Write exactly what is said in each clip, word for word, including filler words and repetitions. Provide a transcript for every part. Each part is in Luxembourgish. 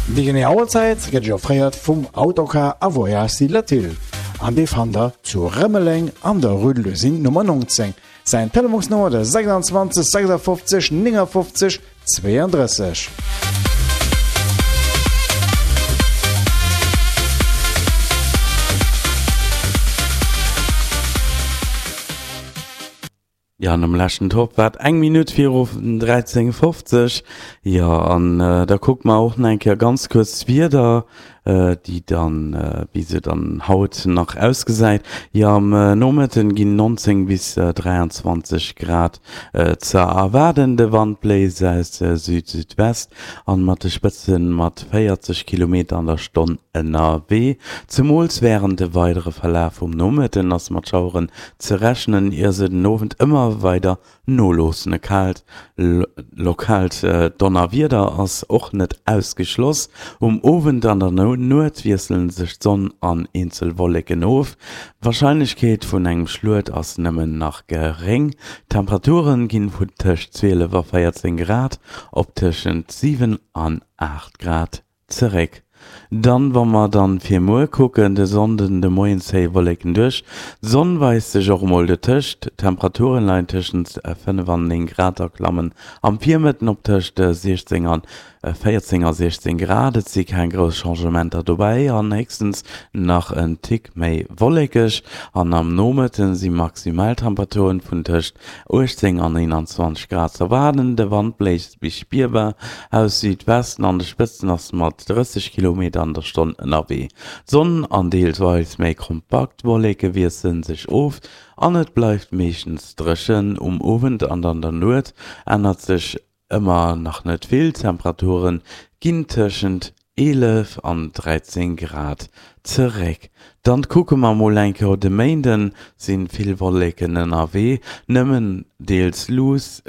Déi genee Auerzäit gëtt Iech offréiert vum Autocar a Voyages Latil an dee fannt der zu Rëmeleng an der Rue de l'Usine Nummer neunzéng. Säin Telefonsnummer de sechsundzwanzeg sechsundfünfzig neunundfünfzig zweiunddrësseg. Jo, an am leschten Topp war et eng Minutt viru dräizéng fofzeg. Jo, an da kucke mer och nach eng Kéier ganz kuerz d'Wieder, déi dann, wéi se dann haut nach ausgesäit. Jo, am Nomëtten ginn nonzéng bis dräianzwanzeg Grad ze erwaarden. De Wand bléist aus Süd-Südwest an mat de Spëtze mat véierzeg Kilometer an der Stonn ënnerwee. Zemools wärend de weidere Verlaf vum Nomëtten ass mat Schaueren ze rechnen, ier se den Owend ëmmer weider noloossen. E kaalt lokaalt Donnerwieder ass och net ausgeschloss. Um Owend an der Nuet wiessele sech d'Sonn an eenzel Wolleken of, d'Warscheinlechkeet vun engem Schluet ass nëmmen nach geréng. D'Temperature ginn vun tëscht zwielef a véierzéng Grad op tëschent siwen an aacht Grad zeréck. Dann, wa mer dann fir muer kucken, de Sonnden de Moien zéie Wolleken duerch, d'Sonn weist sech och emol dotëscht. D'Temperaturen leien tëschent fënnef an néng Grad a klammen am Virmëtten op tëscht siechzéng an véierzéng a siechzéng Grad. Et si keng grouss Changementer dobäi an héchstens nach en Tick méi wollekeg. An am Nomëtten si Maximaltemperaturen vun tëscht uechtzéng an eenanzwanzeg Grad ze erwaarden. De Wand bléist bis spierbar aus Südwesten, an de Spëtzen ass mat drësseg Kilometer an der Stonn ënnerwee. D'Sonn an deelsweis méi kompakt Wolleke wiessele sech of an et bleift meeschtens dréchen. Um Owend an an der Nuet ännert sech ëmmer nach net vill, d'Temperature ginn tëschent eelef an dräizéng Grad zeréck. Dann kucke mer mol eng Kéier op de Méinden, sinn vill Wolleken ënnerwee, nëmmen deels luusst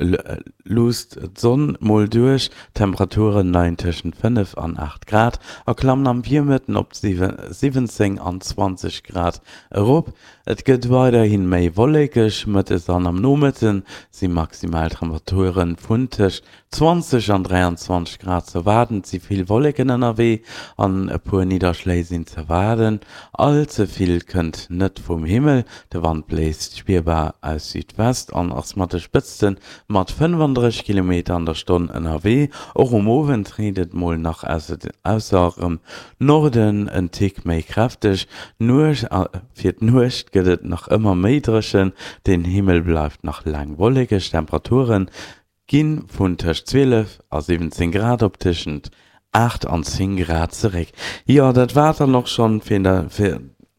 d'Sonn mol duerch. D'Temperature leien tëschent fënnef an aacht Grad a klammen am Virmëtten op siwwenzéng an zwanzeg Grad erop. Et gëtt weiderhi méi wollekeg, mëttes an am Nomëtte si maximal Temperature vun tëscht zwanzeg an dräianzwanzeg Grad ze erwaarden. Et si vill Wolleken ënnerwee an e puer Nidderschléi sinn ze erwaarden. All ze vill kënnt net vum Himmel, de Wand bléist spierbar aus Südwest an ass mat de Spëtzte mat fënnefandrësseg Kilometer an der Stonn ënnerwee. Och um Owend reent et mol nach ausserem Norden en Tick méi kräfteg. Fir d'Nuecht gëtt et nach ëmmer méi dréchen, den Himmel bleift nach laang wollekeg. D'Temperature gi vun tëscht zwielef a siwwenzéng Grad op tëschent aacht an zéng Grad zeréck. Jo, dat war et dann och schonn fir,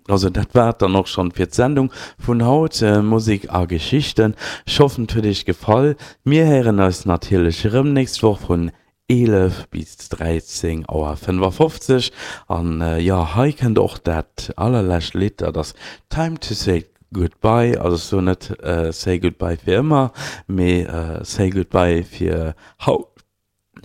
also dat war et dann och schonn fir d'Sendung vun haut, Musek a Geschichten. Ech hoffen, et huet iech gefall. Mir héieren eis natierlech erëm nächst Woch vun eelef bis dräizéng Auer fënnefafofzeg. An jo, hei kënnt och dat allerlescht Lidd, dat ass Time to say goodbye. Also ech soen net say goodbye fir ëmmer, mee say goodbye fir haut.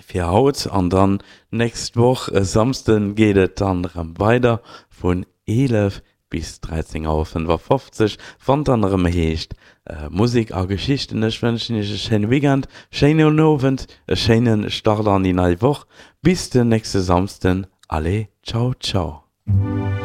Fir haut an dann nächst Woch e Samsden geet et dann erëm weider vun eelef bis dräizéng Auer fënnefafofzeg, wann et dann erëm heescht Musek a Geschichten. Ech wënschen iech e schéine Weekend, schéinen Owend, e schéine Start an déi nei Woch. Bis den nächste Samsden, allez, ciao ciao.